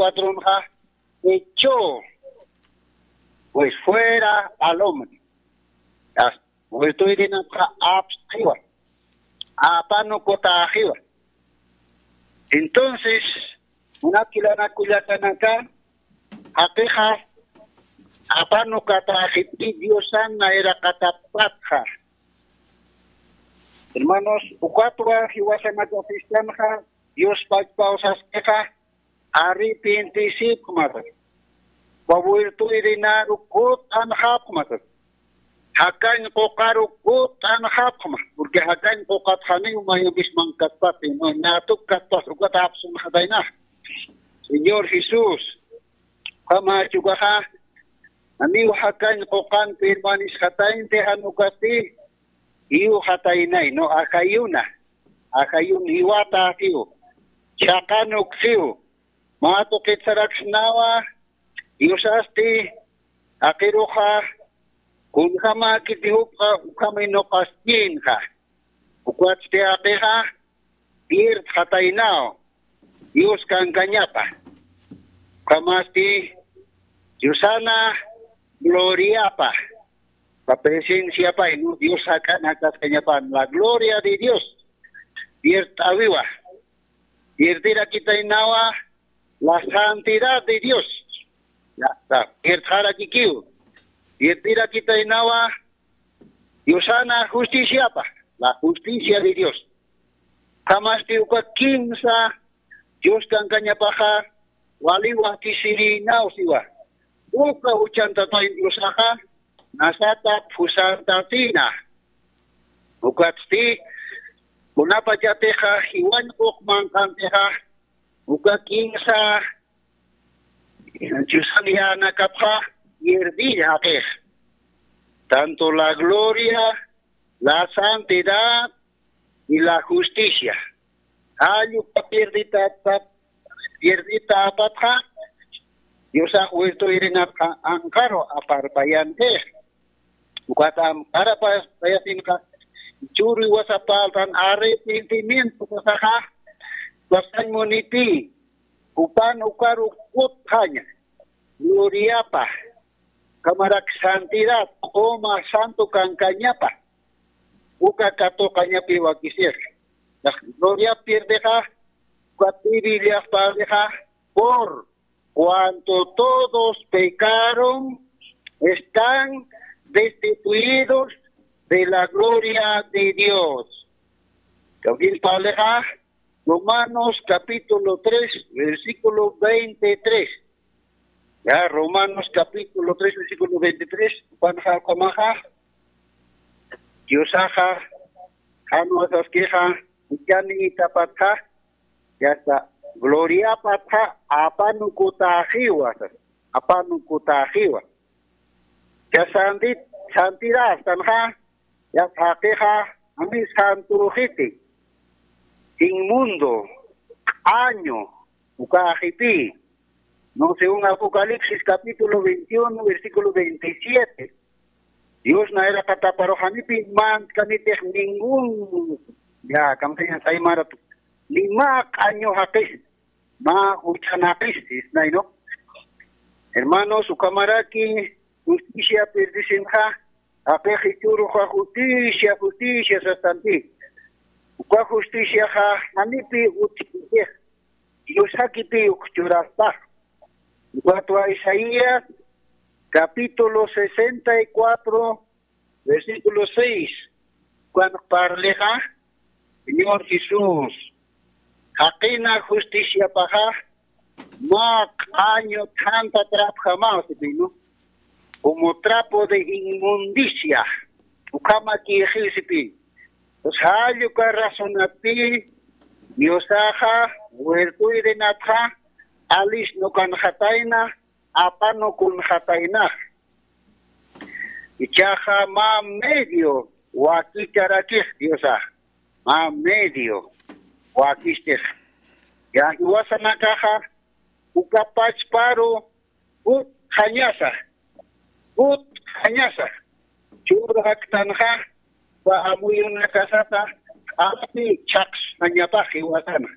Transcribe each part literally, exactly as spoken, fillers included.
cuatronxa, echó pues fuera al hombre. Wirt'uyrinapxa apstxiwa, apanukutäxiwa. Entonces, munat jilanaka kullakanaka, jaqixa apanukatäxipï Diosan nayraqatapatxa. Hermanos, ukatwa jiwasanaka fistanxa, Dios pachpaw saskixa, arrepentisipxma, wirt'uyrinaru kut'anxapxma, jakañ quqaru kut'anxapxma, porque jakañ quqat janiw mayumpis mankaspati, no, ñatuk kaspasa, ukat apsunxatayna. Señor Jesús, ukhamachi ukaxa, janiw jakañ quqan permanisxataynti, jan ukasti, jiwxataynay, no, ajayuna, ajayun jiwata jiw, chhaqanuksiw, mä tuqit saraksnawa, Diosasti, jaqiruxa, kunjamäkiti jupxa, ukham inuqaskïnxa. Ukwatsti jaqixa, pierdxataynaw, Dios kankañapa. Ukhamasti, Diosana, gloriapa, la presenciapa, inu Dios jak'an jakaskañapan, la gloria de Dios, pierdxawiwa, pierdirakitaynawa, la santidad de Dios. Ya, ya, pirdxarakikiw. Pierdirakitaynawa, Diosana justiciapa, la justicia de Dios. Ukhamasti uka kimsa Dios kankañapaxa, wali wakisirïnaw siwa. Uka juchantatay Diosaxa, nasata phusantasina. Ukatsti, kunapachatixa, jiwañ quq manqantixa, uka kimsa Diosan yänakapxa, pierdï jaqix. Tanto la gloria, la santidad y la justicia. Jall uka pierditata, pierditäpatxa, Diosax wirt'uyrinapxa anqaru aparpayankix. Ukat anqarapayasinxa, churi wasapaltan arrepentimiento pasaxa, pasañ munipï, jupan ukaru kutxaña, gloriapa, ukhamarak santidad, q'uma santo kankañapa, uka katuqañapi wakisix. Gloria pierdixa, ukat Bibliax parlixa, por cuanto todos pecaron, están destituidos de la gloria de Dios. Kawkïr parlixa, Romanos capítulo tres, versículo veintitrés. Ya, Romanos capítulo tres, versículo veintitrés, jupanxa ukhamaxa, Diosaxa, jan wasaskixa, juchanïtapatxa, ya está, gloriapatxa, apanukutäxiwa, apanukutäxiwa. Ya santi-, santidad, tanxa, ya jaqixa, jani santuruxiti, inmundo, q'añu, ukaxiti. No, según Apocalipsis capítulo veintiuno, versículo veintisiete. Dios nayraqataparux janipï mantkanitix ningún, ya, kamsañas aymaratu, ni mä q'añu jaqis, mä juchan jaqis, sisnay, ¿no? Hermanos, ukhamaraki justicia pierdisinxa, jaqix jichhüruxa justicia, justicia sasanti. Uka justiciaxa janipï utjkitix, Dios jakipï uk churaspa. Ukatwa Isaías, capítulo sesenta y cuatro, versículo seis. Ukan parlixa, Señor Jesús, jaqina justiciapaxa, mä q'añu thanta trapjamaw sipï, ¿no? Como trapo de inmundicia, ukhamakïxiw sipï. Pues jall uka razonatpï, Diosaxa, wirt'uyrinatxa, alis nukanxatayna, apanukunxataynax. Jichhaxa mä medio wakicharakix Diosax, mä medio wakichtix. Ya jiwasanakaxa, uka pachparu, kutxañasa, kutxañasa, churxaktanxa, uka amuyunakasata, q'api chhaqsxañapax jiwasana.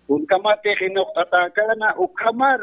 Kunkamatix inuqt'atäkäna, ukhamar